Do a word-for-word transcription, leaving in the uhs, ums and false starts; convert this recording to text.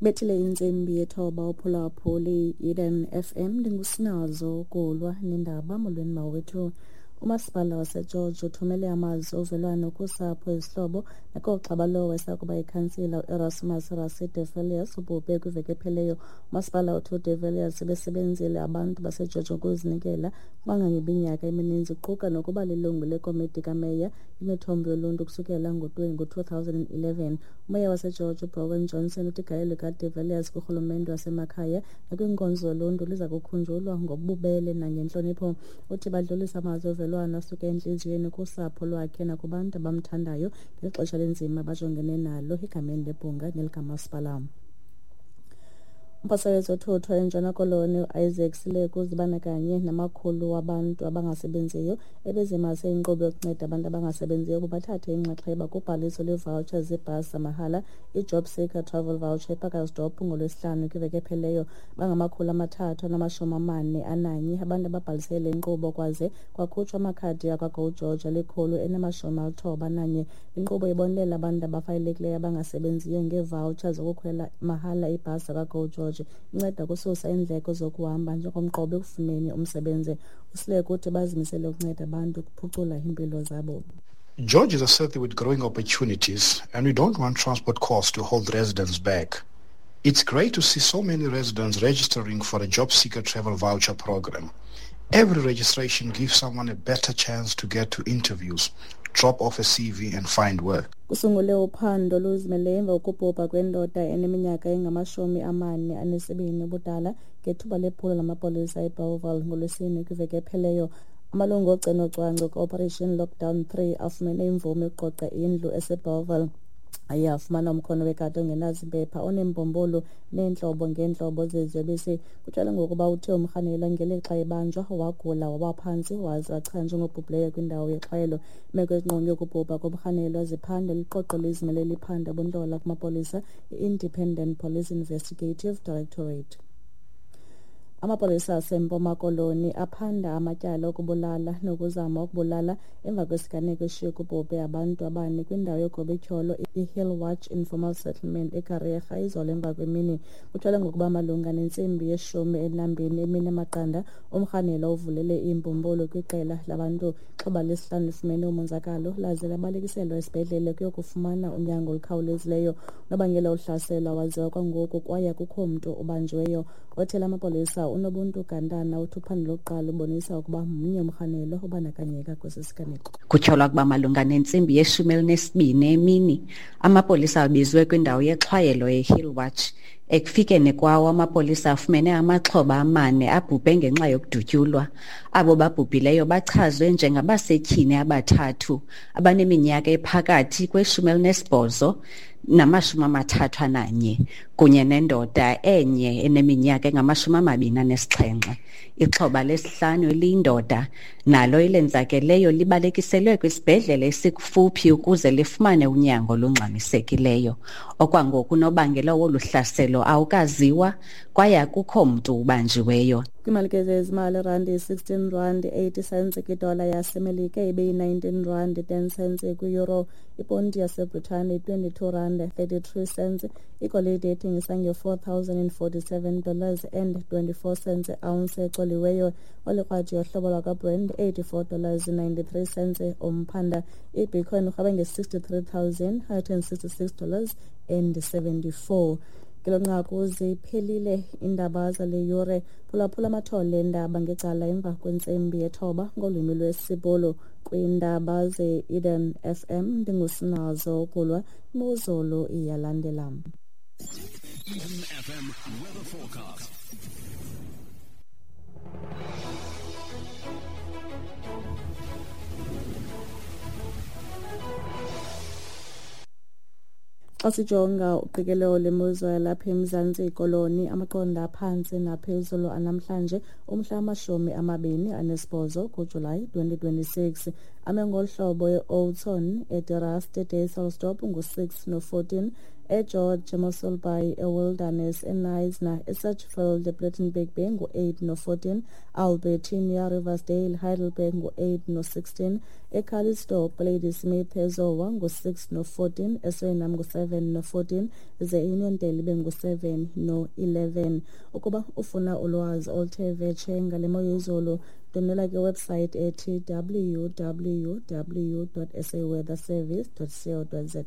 Bethile intsimbi yethoba uphulaphuli Eden F M, ndingusinazo Kulwa nendaba. Molweni mawethu. Umasipala waseGeorge uthumele amazwi ovelwano kusapho, izihlobo nakoogxa balowo esakuba yikhansila uErasmus Rassie de Villiers ubhubhe kwiveki ephelileyo. Umasipala uthi uDe Villiers ebesebenzile abantu baseGeorge ngokuzinikela kangangeminyaka emininzi, kuquka nokuba lilungu lekomiti kameya imithombo yoluntu kusukela ngo-two thousand and eleven. Umeya waseGeorge uBronwyn Johnson uthi igalelo likaDe Villiers kurhulumente wasemakhaya nakwiinkonzo zoluntu liza kukhunjulwa ngobubele nangentlonipho. Uthi badlulisa amazwi ovelwano asuka entliziyweni kusapho lwakhe nakubantu abamthandayo ngeli xesha linzima bajongene nalo egameni lebhunga nelikamasipala. Umphathiswa wezothutho eNtshona Koloni uIsaac Sileku uzibandakanye namakhulu wabantu abangasebenziyo ebezimase inkqubo yokunceda abantu abangasebenziyo ukuba bathathe inxaxheba kubhaliso lweevawutsha zebhasi zamahala, i-Job Seeker Travel Voucher, ePacaltsdorp ngoLwesihlanu kwiveki ephelileyo. Bangamakhulu amathathu anamashumi amane ananye abantu ababhalisele le nkqubo, kwaze kwakhutshwa amakhadi akwaGo George alikhulu elinamashumi alithoba ananye. Inkqubo ibonelela abantu abafanelekileyo abangasebenziyo ngeevawutsha zokukhwela mahala ibhasi zakwaGo George. Inceda ukususa iindleko zokuhamba njengomqobo ekufuneni umsebenzi. USileku uthi bazimisele ukunceda abantu ukuphucula iimpilo zabo. George is a city with growing opportunities, and we don't want transport costs to hold residents back. It's great to see so many residents registering for a Job Seeker Travel Voucher program. Every registration gives someone a better chance to get to interviews, drop off a C V and find work. Kusungule uphando oluzimeleyo emva kokubhubha kwendoda eneminyaka engamashumi amane anesibini ubudala ngethuba lephulo lamapolisa eBellville ngoLwesine kwiveki ephelileyo. Amalungu ogcino-cwangco ka-Operation Lockdown three afumene imvume yokuqoqa indlu eseBellville. Aye afumana umkhono wekati ongenazimpepha oneembumbulu neentlobo ngeentlobo zeziyobisi. Kutyalwe ngokuba uthe umrhanelwa ngelixa ebanjwa wagula wawa phantsi waze wachanjwa njengobhubhileyo kwindawo yexhwayelo. Imeko ezingqonge ukubhubha komrhanelwa ziphandwa liqoqo lizimele eliphanda ubuntlola kumapolisa, i-Independent Police Investigative Directorate. Amapolisa aseMpuma Koloni aphanda amatyala okubulala nokuzama ukubulala emva kwesiganeko eshiye kubhubhe abantu abane kwindawo yogobityholo iHill Watch Informal Settlement eKariega izolo emva kwemini. Kutyholwa ngokuba malunga nentsimbi yeshumi elinambini emini emaqanda, umrhanelwa uvulele iimbumbulu kwiqela labantu. Ixhoba lesihlanu lifumene umonzakalo laze labalekiselwa esibhedlele kuyokufumana unyango olukhawulezileyo. Unobangela wohlaselo awaziwa kwangoku kwaye akukho mntu ubanjiweyo. Othethela amapolisa uNobuntu Gantana uthi uphando lokuqala lubonisa ukuba mnye umrhanelwa obandakanyeka kwesi siganeko. Kutyholwa ukuba malunga nentsimbi yeshumi elinesibini emini, amapolisa abizwe kwindawo yexhwayelo eHill Watch. Ekufikeni kwawo, amapolisa afumene amaxhoba amane abhubhe ngenxa yokudutyulwa. Abo babhubhileyo bachazwe njengabasetyhini abathathu abaneminyaka ephakathi kweshumi elinesibhozo namashumi amathathu ananye kunye nendoda enye eneminyaka engamashumi amabini anesixhenxe. Ixhoba lesihlanu eliyindoda nalo elenzakeleyo libalekiselwe kwisibhedlele esikufuphi ukuze lifumane unyango olungxamisekileyo. Okwangoku unobangela wolu hlaselo awukaziwa kwaye akukho mntu ubanjiweyo. Kwiimalike zezimali, irandi yi-sixteen rand eighty cents kwidola yaseMelika, ibe yi-nineteen rand ten cents kwi-euro. Iponti yaseBritane yi-twenty-two rand thirty-three cents. Igolide ithengisa nge-four thousand and forty-seven dollars and twenty-four cents ounce ecoliweyo. Olikrwadi yohlobo lwakwaBrent eighty-four dollars ninety-three cents umphanda. IBitcoin irhweba nge-sixty-three thousand hundred and sixty-six dollars and seventy-four. Ngelo nqaku ziphelile iindaba zale yure. Phulaphula amathole eendaba ngecala emva kwentsimbi yethoba ngolwimi lwesiBhulu kwiindaba ze-Eden F M. Ndingusinazo Kulwa. Imozulu iyalandela. Eden F M weather forecast. Xa sijonga uqikelelo lemozulu yalapha eMzantsi Koloni, amaqondo aphantsi naphezulu anamhlanje umhla amashumi amabini anesibhozo kuJulayi twenty twenty-six. Ame ngolu hlobo: e-Oudtshoorn, eDe Rust, eDysselsdorp ngu-six no-fourteen, eGeorge, eMossel Bay, eWilderness, eKnysna, eSedgefield, ePlettenberg Bay ngu-eight no-fourteen, Albertinia, Riversdale, Heidelberg ngu-eight no-sixteen, eCalitzdorp, Ladysmith, eZowa ngu-six no-fourteen, eSuriname ngu-seven no-fourteen, ze eUniondale ibe ngu-seven no-eleven. Ukuba ufuna ulwazi oluthe vetshe ngale mo yezulu, ndwendwela kwiwebsite ethi w w w dot saweatherservice dot co dot za.